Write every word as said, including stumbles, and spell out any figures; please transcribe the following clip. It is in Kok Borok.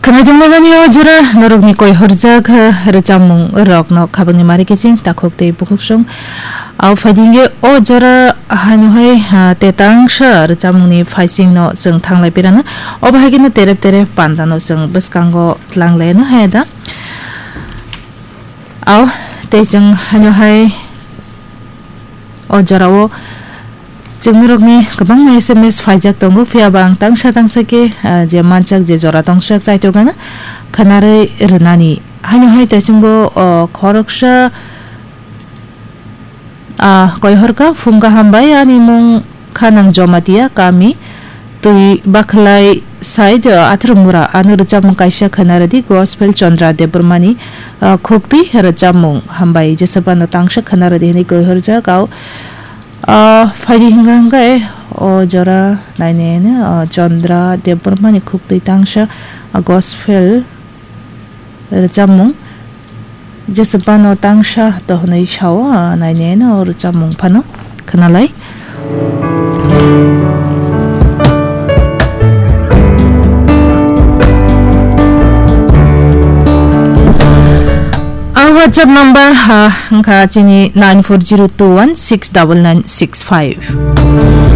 Khwnaidunglabani o jora norokni koihorjak, eh, rwchapmung rokno khabangni mari kiching takhuk tei bukhuksong. Au phaidingwi o jora haino hai, ha, tetangsa rwchapmungni phaisingno chwng thanglai pirana. Obo hai kheno terep terep pandano chwng bwskango tlanglaiano hai da. Au tei chwng haino hai o jorao chwngnorokni kwbangma S M S phaijak tongo, phiya ba ang tangsa tangsa khe, ah, je manchak, je jora tongsak chaitok gana khwnarwi rwnani. Haino hai tei chwngbo, o, khoroksa, ah, koihorkha, phungkha hambai, ani mung kha nang Jomatia kami, twi bakhlai side, ah, Atharmura, ano rwchapmung kaisa khwnarwdi, Gospel Chandra Debbarmani, ah, khuktwi rwchapmung hambai, jesabano tangsa khwnarwdi hwnwi koihorjak, au, ah, phaidi hwnkha hwnkhe o jora nainai, ah, Chandra Debbarmani khuktwi tangsa, ah, Gospel rwchapmung. Jesabano tangsa to hwnwi sao, ah, nainai no rwchapmung phano khwnalai. Ang WhatsApp number ha wngkha chini nine four zero two one six double nine six five.